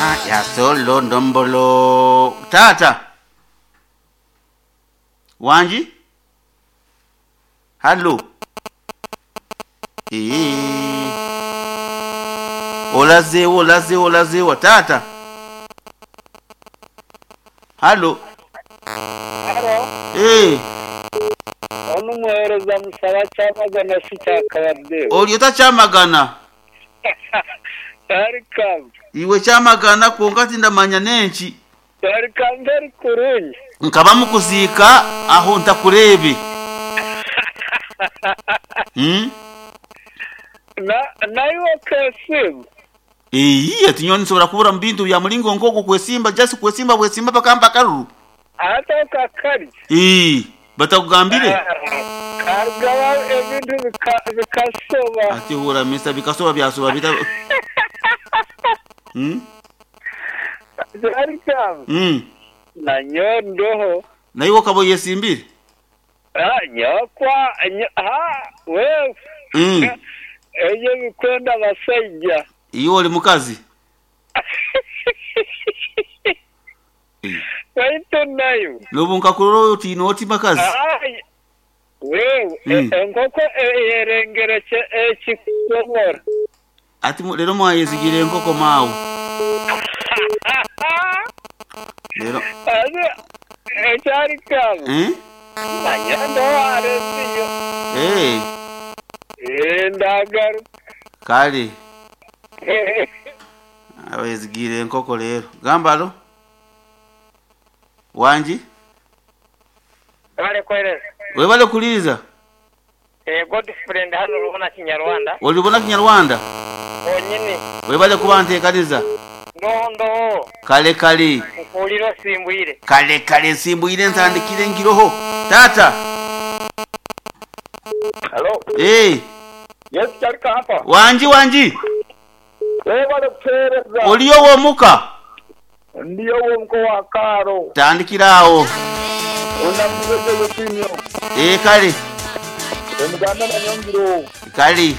Ah, ya solo ndombolo. Tata. Wangi? Hallo. Eeh. Olazeewa olazeewa olazeewa taata. Hallo. Halo, Eeh. onu muhereza musaba Kyamagana si Kyakabadde. Oli ota Kyamagana? Welcome. Iwe Kyamagana kwonka tindamanya n'enki. Welcome very kurungi. Nkaba mukuziika aho ntakureebe. Hmm? Na naiwe okeesiima? Eeyi ati nyowe ninsobora kubura mu bintu bya muringo nk'ogwo kwesimba just kwesimba bwesimba bakampa akaruru. Ate okakarya? Eeh batakugambire? Karugaho ebintu bikasoba. Ati hura Mister bikasoba byasoba bita. Hmm? Welcome. Na nyowe ndoho. Naiwe okaba oyesimbire? Ah, nyowe kwa ha wewe. Ebyo ebikwenda abasaija. Iwe oli mukazi? Baitu naiwe. Nobu nkakurora otiine oti bakazi. Wewe, enkoko eyerengere ekikomora. Ati lero mwayezigiire enkoko maawe. Lero. Ekyari kaabu. Manya ndoho arenziyo. Eeh ndagaruka. Kale. Abezigiire enkoko leero. Gamba alo. Wangi? Webale kuwereza. Webale kuliiriza. Eeh Godfrey ndi hano Rubona Kinyarwanda. Oli Rubona Kinyarwanda? Wonyini. Webale kuba ntekaniza. Ndoho ndoho. Kale kale. Nkuwulira osimbwire. Kale kale nsimbwire ntandikire ngiroho. Taata. Halo. Eeh. Yes Kyalika hapa. Wangi wangi. Webale kutuwereza. Oli owomuka? Ndi ow'omuka owa Kaaro. Tandikira agho. Ondamukize Josefinho. Ee kale. Omuganda na Nyongiro. Kale.